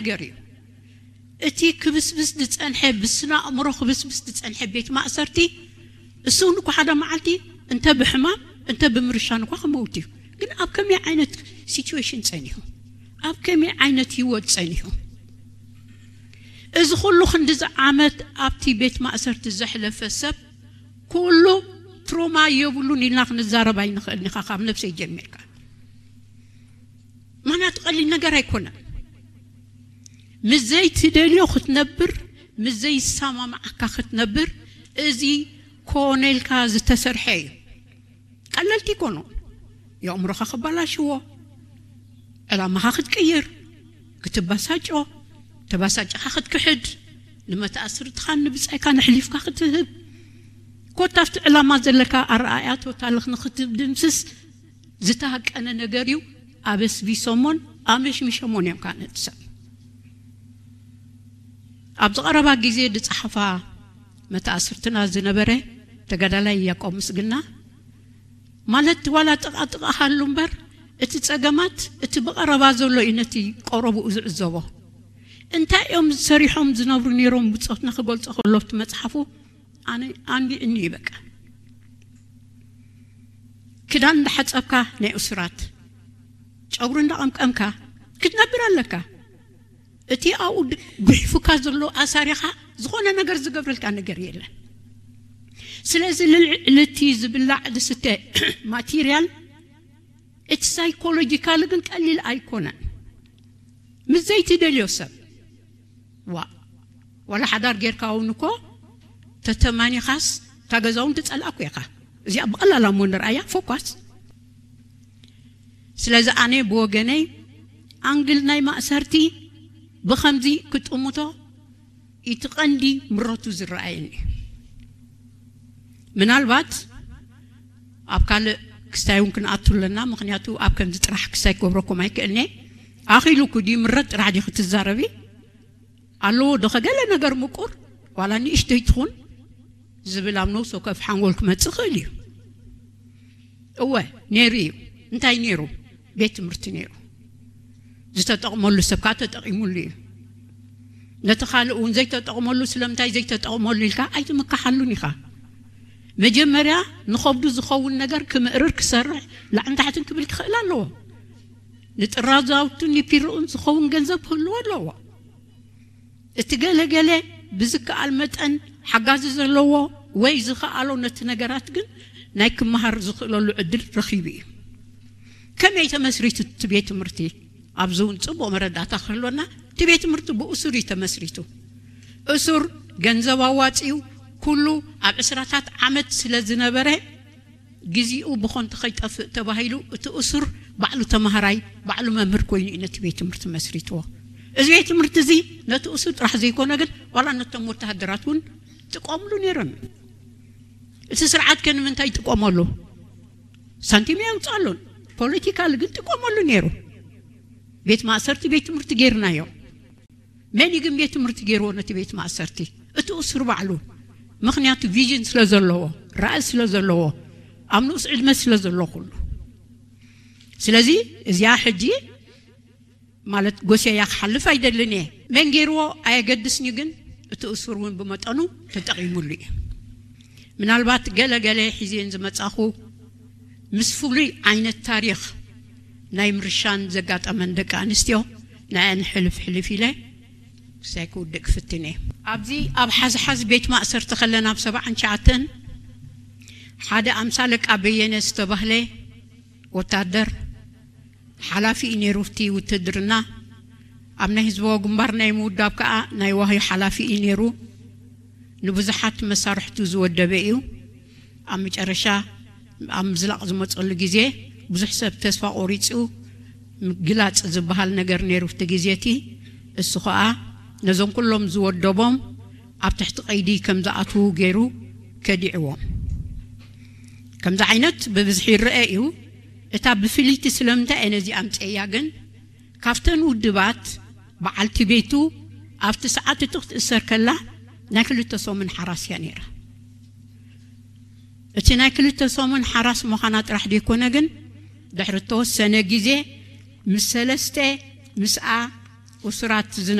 ነገር እዩ። እቲ ክብስብስ ዝጸንሐ፣ ብስነ ኣእምሮ ክብስብስ ዝጸንሐ ቤት ማእሰርቲ፣ እሱ እውን እኮ ሓደ መዓልቲ እንተ ብሕማም እንተ ብምርሻን እኳ ክመውት እዩ። ግን ኣብ ከመይ ዓይነት ሲቹዌሽን ጸኒሑ፣ ኣብ ከመይ ዓይነት ህይወት ጸኒሑ? እዚ ኩሉ ክንዲዚ ዓመት ኣብቲ ቤት ማእሰርቲ ዘሕለፈ ሰብ ኩሉ ትሮማ የብሉን ኢልና ክንዛረብ ኣይንኽእልን ኢኻ፣ ካብ ነብሰይ ጀሚርካ። ምኽንያቱ ቀሊል ነገር ኣይኮነን። ምስ ዘይትደልዮ ክትነብር፣ ምስ ዘይሰማምዓካ ክትነብር፣ እዚ ኮነ ኢልካ ዝተሰርሐ እዩ። ቀለልቲ ይኮኑ። የእምሮኻ ክበላሽዎ፣ ዕላማኻ ክትቅይር፣ ክትበሳጮ፣ ተበሳጭኻ ክትክሕድ፣ ንመተኣስርትኻን ንብጻይካ ንሕሊፍካ ክትህብ፣ ኮታ ኣብቲ ዕላማ ዘለካ ኣረኣእያ ቶታልኽ ንክትድምስስ ዝተሃቀነ ነገር እዩ። ኣበስቢሶሞን ኣመሽሚሾሞን እዮም። ካነቲ ሰብ ኣብዚ ቀረባ ግዜ ዝጸሓፋ መተኣስርትና ዝነበረ ተጋዳላይ ያቆብ ምስግና፣ ማለት ዋላ ጥቓጥቓ ሃሉ እምበር፣ እቲ ጸገማት እቲ ብቐረባ ዘሎ እዩ ነቲ ቀረብኡ ዝዕዘቦ። እንታይ እዮም ሰሪሖም ዝነብሩ ነይሮም ብጾትና ክገልጾ ከሎ ኣብቲ መጽሓፉ፣ ኣነ ኣንቢዕኒ እዩ በቃ። ክዳን እንዳሓጸብካ ናይ እሱራት፣ ጨጉሪ እንዳቐምቀምካ ክትነብር ኣለካ። እቲ ኣብኡ ድ-፣ ጉሒፉካ ዘሎ ኣሳሪኻ ዝኾነ ነገር ዝገብረልካ ነገር የለን። ስለዚ ልዕሊ እቲ ዝብላዕ ዝስተ ማቴሪያል፣ እቲ ሳይኮሎጂካል ግን ቀሊል ኣይኮነን። ምስ ዘይትደልዮ ሰብ፣ ዋ፣ ዋላ ሓዳር ጌርካ እውን እኮ ተተማኒኻስ እታ ገዛ እውን ትጸልኣ እኮ ኢኻ። እዚኣ ብቐላል እሞ ንርኣያ፣ ፎኳስ። ስለዚ ኣነ ብወገነይ ኣንግል ናይ ማእሰርቲ ብኸምዚ ክጥምቶ እቲ ቀንዲ ምረቱ ዝረኣየኒ። ምናልባት ኣብ ካልእ ክስታይ እውን ክንኣቱ ኣለና፣ ምኽንያቱ ኣብ ከምዚ ጥራሕ ክስታይ ክገብረኩም ኣይክእልኒ። ኣኺሉ ኩዲ ምረት ጥራሕ ዲ ክትዛረቢ ኣለዎ ዶ? ከገለ ነገር ምቁር ዋላ ንእሽተይ ትኹን ዝብል ኣብ ነብሲ ወከፍ ሓንጎል ክመጽእ ይኽእል እዩ። እወ፣ ነይሩ እዩ። እንታይ ነይሩ? ቤት ትምህርቲ ነይሩ። ዝተጠቕመሉ ሰብ ከዓ ተጠቒሙሉ እዩ። ነቲ ካልእ እውን ዘይተጠቕመሉ ስለምንታይ ዘይተጠቕመሉ ኢልካ ኣይትምካሓሉን ኢኻ። መጀመርያ ንኸብዱ ዝኸውን ነገር ክምእርር ክሰርሕ ላዕን ታሕትን ክብል ክኽእል ኣለዎ። ንጥራዛውቱን ንፒርኡን ዝኸውን ገንዘብ ክህልዎ ኣለዎ። እቲ ገለገለ ብዝከኣል መጠን ሓጋዚ ዘለዎ ወይ ዝኸኣሎ ነቲ ነገራት ግን ናይ ክመሃር ዝኽእለሉ ዕድል ረኺቡ እዩ። ከመይ ተመስሪቱ እቲ ቤት ትምህርቲ? ኣብዚ እውን ጽቡቕ መረዳእታ ክህልወና፣ እቲ ቤት ትምህርቲ ብእሱር እዩ ተመስሪቱ። እሱር ገንዘብ ኣዋጺኡ ኩሉ ኣብ ዕስራታት ዓመት ስለ ዝነበረ፣ ግዜኡ ብኾንቱ ከይጠፍእ ተባሂሉ እቲ እሱር ባዕሉ ተማሃራይ፣ ባዕሉ መምህር ኮይኑ እዩ ነቲ ቤት ትምህርቲ መስሪትዎ። እዚ ቤት ትምህርቲ እዚ ነቲ እሱር ጥራሕ ዘይኮነ ግን ዋላ ነቶም ወተሃደራት እውን ጥቀምሉ ነይሮም። እቲ ስርዓት ከ ንምንታይ ይጥቀመሉ? ሳንቲም የውፅኣሉን። ፖለቲካል ግን ጥቀመሉ ነይሩ። ቤት ማእሰርቲ ቤት ትምህርቲ ገይርናዮ። መን እዩ ግን ቤት ትምህርቲ ገይርዎ ነቲ ቤት ማእሰርቲ? እቲ እሱር ባዕሉ። ምኽንያቱ ቪዥን ስለ ዘለዎ፣ ራእይ ስለ ዘለዎ፣ ኣብ ንኡስ ዕድመ ስለ ዘሎ ኩሉ። ስለዚ እዚኣ ሕጂ ማለት ጎሰያ ክሓልፍ ኣይደልን እየ። መን ገይርዎ ኣየገድስን እዩ፣ ግን እቲ እሱር እውን ብመጠኑ ተጠቒሙሉ እዩ። ምናልባት ገለ ገለ ሒዜን ዝመጻኹ ምስ ፍሉይ ዓይነት ታሪኽ ናይ ምርሻን ዘጋጠመን ደቂ ኣንስትዮ ንኣን ሕልፍ ሕልፍ ኢለ ክሳይ ክውድእ ክፍትን እየ። ኣብዚ ኣብ ሓዝሓዝ ቤት ማእሰርቲ ከለና ኣብ ሰብዓን ትሽዓተን ሓደ ኣምሳ ኣለቃ በየነ ዝተባህለ ወታደር ሓላፊ እዩ ነይሩ። እቲ ውትድርና ኣብ ናይ ህዝባዊ ግንባር ናይ ምውዳብ ከኣ ናይ ዋሂ ሓላፊ እዩ ነይሩ። ንብዙሓት መሳርሕቱ ዝወደበ እዩ። ኣብ መጨረሻ ኣብ ምዝላቕ ዝመጸሉ ግዜ ብዙሕ ሰብ ተስፋ ቆሪጹ ምግላጽ ዝበሃል ነገር ነይሩ። ኣብቲ ግዜ እቲ እሱ ኸኣ ነዞም ኩሎም ዝወደቦም ኣብ ትሕቲ ቀይዲ ከም ዝኣትዉ ገይሩ ከዲዕዎም። ከምዚ ዓይነት ብብዝሒ ይረአ እዩ። እታ ብፍልይቲ ስለምንታይ እየ ነዚ ኣምፅኤያ ግን፣ ካብተን ውድባት በዓልቲ ቤቱ ኣብቲ ሰዓት እቲ ክትእሰር ከላ ናይ ክልተ ሰሙን ሓራስ እያ ነይራ። እቲ ናይ ክልተ ሰሙን ሓራስ ምዃና ጥራሕ ዘይኮነ ግን፣ ድሕሪ እተወሰነ ግዜ ምስ ሰለስተ ምስኣ እሱራት